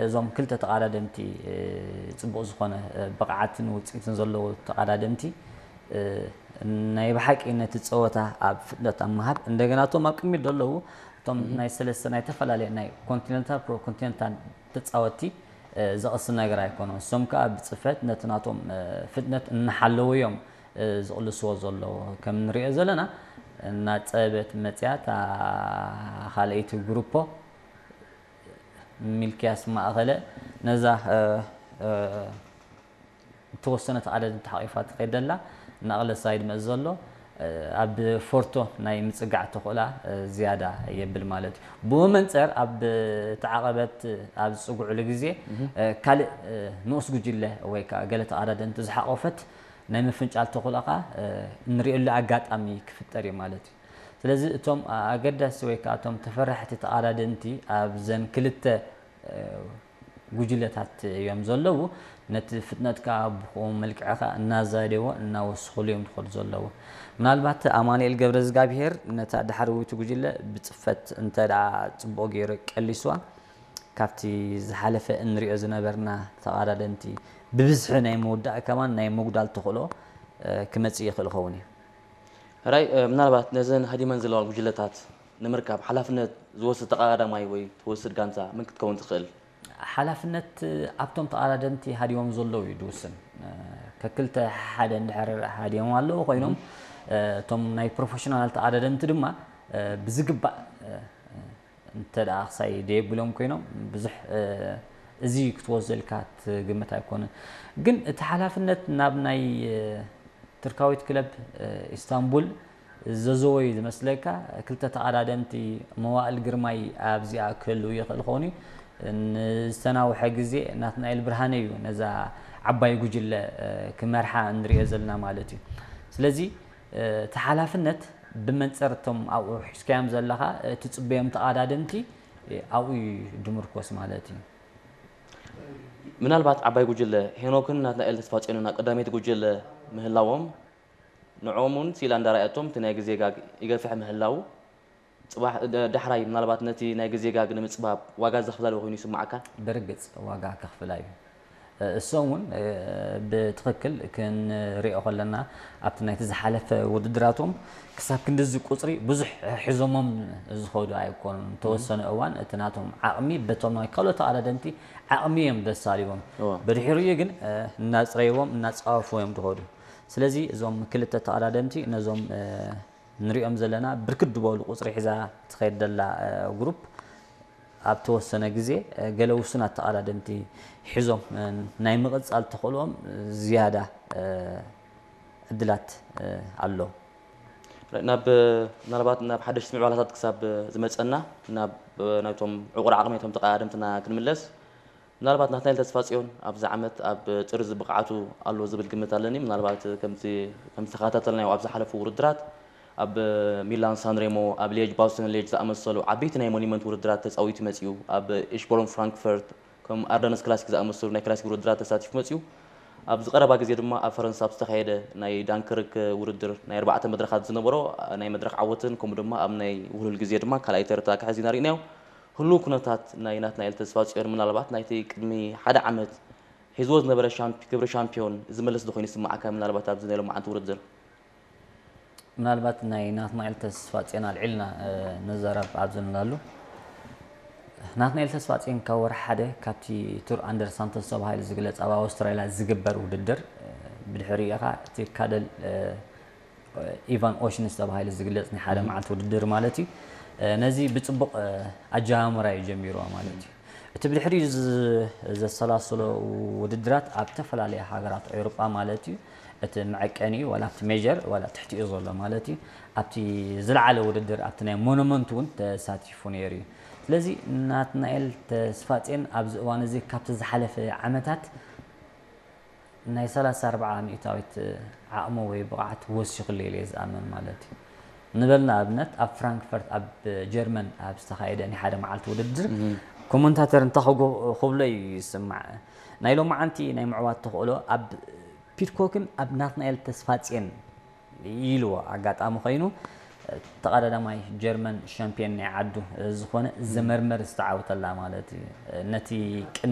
እዞም ክልተ ተቓዳደምቲ ጽቡቕ ዝኾነ ብቕዓትን ውፅኢትን ዘለዎ ተቓዳደምቲ ናይ ብሓቂ ነቲ ፀወታ ኣብ ፍጥነት ኣብ ምሃብ እንደገና እቶም ኣብ ቅድሚት ዘለዉ እቶም ናይ ሰለስተ ናይ ተፈላለየ ናይ ኮንቲነንታል ፕሮ ኮንቲነንታል ተፃወትቲ ዘቕስን ነገር ኣይኮነን። እሶም ከዓ ብፅፈት ነቲ ናቶም ፍጥነት እናሓለዉ እዮም ዝቕልስዎ ዘለዉ። ከም ንሪኦ ዘለና እናፀበት መፅያ እታ ካልኣይቲ ግሩፖ ሚልክያስ ማእኸለ ነዛ እተወሰነ ተቓዳደምቲ ሓቒፋ ትኸይድ ዘላ እናቕለሳ ይድመፅ ዘሎ ኣብ ፎርቶ ናይ ምፅጋዕ ተኽእላ ዝያዳ የብል ማለት እዩ። ብኡ መንፅር ኣብ እቲ ዓቐበት ኣብ ዝፅግዕሉ ግዜ ካልእ ንኡስ ጉጅለ ወይ ከዓ ገለ ተቓዳደምቲ ዝሓቆፈት ናይ ምፍንጫል ተኽእላ ከዓ እንሪእሉ ኣጋጣሚ ክፍጠር እዩ ማለት እዩ። ስለዚ እቶም ኣገዳሲ ወይ ከዓ እቶም ተፈራሕቲ ተቓዳደምቲ ኣብዘን ክልተ ጉጅለታት እዮም ዘለዉ። ነቲ ፍጥነት ከዓ ብኡ መልክዕ ከዓ እናዛደዎ እናወስኽሉ እዮም ዝኸዱ ዘለዉ። ምናልባት ኣማኑኤል ገብረዝጋብሄር ነታ ዳሕረወይቲ ጉጅለ ብፅፈት እንተ ደኣ ፅቡቕ ገይሩ ቀሊስዋ ካብቲ ዝሓለፈ እንሪኦ ዝነበርና ተቓዳደምቲ ብብዝሒ ናይ ምውዳእ ከማን ናይ ምጉዳል ተኽእሎ ክመፅእ ይኽእል ይኸውን እዩ። ሕራይ ምናልባት ነዘን ሃዲመን ዘለዋ ጉጅለታት ንምርካብ ሓላፍነት ዝወስድ ተቐዳዳማይ ወይ ትወስድ ጋንታ መን ክትከውን ትኽእል? ሓላፍነት ኣብቶም ተቐዳደምቲ ሃዲዎም ዘለዉ እዩ ዝውስን። ከክልተ ሓደ እንድሕር ሃዲዮም ኣለዉ ኮይኖም እቶም ናይ ፕሮፌሽናል ተቐዳደምቲ ድማ ብዝግባእ እንተ ደኣ ክሳይ ደየብሎም ኮይኖም ብዙሕ እዚ ክትወስዶ ኢልካ ትግምት ኣይኮነን። ግን እቲ ሓላፍነት ናብ ናይ ቱርካዊት ክለብ ኢስታንቡል ዘዘወዩ ዝመስለካ ክልተ ተቐዳደምቲ መዋእል ግርማይ ኣብዚኣ ክህልው ይኽእል ኾኑ ንዝተናውሐ ግዜ ናትናኤል ብርሃነ እዩ ነዛ ዓባይ ጉጅለ ክመርሓ እንሪኦ ዘለና ማለት እዩ። ስለዚ እቲ ሓላፍነት ብመንፅር እቶም ኣብኡ ሒዝካዮም ዘለኻ ትፅበዮም ተቐዳደምቲ ኣብኡ እዩ ድምርኮስ ማለት እዩ። ምናልባት ዓባይ ጉጅለ ሄኖክን ናትናኤል ተስፋጽዮንን ኣብ ቀዳመይቲ ጉጅለ ምህላዎም ንዕኦም እውን ስኢላ እንዳረኣየቶም እቲ ናይ ግዜ ጋግ ይገፍሕ ምህላዉ ፅባሕ ዳሕራይ ምናልባት ነቲ ናይ ግዜ ጋግ ንምፅባብ ዋጋ ዘኽፍላ ዶ ኮይኑ ይስምዓካ? ብርግፅ ዋጋ ከኽፍላ እዩ። እሶም እውን ብትኽክል ክንሪኦ ከለና ኣብቲ ናይቲ ዝሓለፈ ውድድራቶም ክሳብ ክንድዚ ቁፅሪ ብዙሕ ሒዞሞም ዝኸዱ ኣይኮኑን። ተወሰነ እዋን እቲ ናቶም ዓቕሚ በቶም ናይ ካልኦት ተቐዳደምቲ ዓቕሚ እዮም ዘሳልዎም። ብድሕሪኡ ግን እናፅረይዎም እናፃወፉ እዮም ዝኸዱ። ስለዚ እዞም ክልተ ተቐዳደምቲ ነዞም ንሪኦም ዘለና ብርክት ዝበሉ ቁፅሪ ሒዛ ትኸይድ ዘላ ግሩፕ ኣብ ተወሰነ ግዜ ገለ ውሱናት ተቐዳደምቲ ሒዞም ናይ ምቕፃል ተኽእልኦም ዝያዳ ዕድላት ኣሎ። ናብ ምናልባት ናብ ሓደሽቲ ምዕባላታት ክሳብ ዝመፀና ናብ ናይቶም ዕቑር ዓቕሚ ናይቶም ተቐዳደምትና ክንምለስ ምናልባት ናትናኤል ተስፋጽዮን ኣብዚ ዓመት ኣብ ጥርዚ ብቕዓቱ ኣሎ ዝብል ግምት ኣለኒ። ምናልባት ከምቲ ከምዝተኸታተልናዮ ኣብ ዝሓለፉ ውድድራት ኣብ ሚላን ሳንሬሞ፣ ኣብ ሌጅ ባስቶን ሌጅ ዝኣመሰሉ ዓበይቲ ናይ ሞኒመንት ውድድራት ተፃዊቱ መፂኡ። ኣብ ኢሽቦርን ፍራንክፈርት ከም ኣርደነስ ክላሲክ ዝኣመሰሉ ናይ ክላሲክ ውድድራት ተሳቲፉ መፂኡ። ኣብዚ ቀረባ ግዜ ድማ ኣብ ፈረንሳ ኣብ ዝተኻየደ ናይ ዳንክርክ ውድድር ናይ ኣርባዕተ መድረኻት ዝነበሮ ናይ መድረኽ ዓወትን ከምኡ ድማ ኣብ ናይ ውህሉል ግዜ ድማ ካልኣይ ተርታ ክሕዝ ኢና ርኢናዮ። ህሉው ኩነታት ናይ ናትናኤል ተስፋጽዮን ምናልባት ናይቲ ቅድሚ ሓደ ዓመት ሒዝዎ ዝነበረ ሻምፕ- ክብሪ ሻምፒዮን ዝመልስ ዶ ኮይኑ ይስምዓካ? ምናልባት ኣብዚ ናይ ሎማዓንቲ ውድድር ምናልባት ናይ ናትናኤል ተስፋጽዮን ኣልዒልና ንዘረብ ኣብዚ ንላሉ ናትናኤል ተስፋጽዮን ካብ ወርሒ ሓደ ካብቲ ቱር ኣንደር ሳንቶስ ተባሂሉ ዝግለጽ ኣብ ኣውስትራልያ ዝግበር ውድድር ብድሕሪኡ ኢኻ እቲ ካደል ኢቫን ኦሽንስ ተባሂሉ ዝግለጽ ናይ ሓደ መዓልቲ ውድድር ማለት እዩ። ነዚ ብጽቡቕ ኣጀማምራ እዩ ጀሚርዋ ማለት እዩ። እቲ ብድሕሪኡ ዘሰላሰሎ ውድድራት ኣብ ዝተፈላለያ ሃገራት ኤውሮጳ ማለት እዩ። እቲ መዐቀኒኡ ዋላ ኣብቲ ሜጀር ዋላ ትሕቲኡ ዘሎ ማለት እዩ። ኣብቲ ዝለዓለ ውድድር ኣብቲ ናይ ሞኑመንት እውን ተሳቲፉ ነይሩ እዩ። ስለዚ ናትናኤል ተስፋጼን ኣብዚ እዋን እዚ ካብቲ ዝሓለፈ ዓመታት ናይ ሰላሳ ኣርባዓ ሚእታዊት ዓቕሙ ወይ ብቕዓት ወሲኹሉ ኢለ እየ ዝኣምን ማለት እዩ። ንበል ንኣብነት ኣብ ፍራንክፈርት ኣብ ጀርመን ኣብ ዝተኻየደ ናይ ሓደ መዓልቲ ውድድር ኮመንታተር እንታይ ክብሎ እዩ ይስማዕ ናይ ሎማዓንቲ ናይ ምዕዋት ተኽእሎ ኣብ ፒድኮክን ኣብ ናትናኤል ተስፋጽየን ኢልዎ ኣጋጣሚ ኮይኑ ተቐዳዳማይ ጀርመን ሻምፒየን ናይ ዓዱ ዝኾነ ዘመርመር ዝተዓወተላ ማለት እዩ። ነቲ ቅድሚ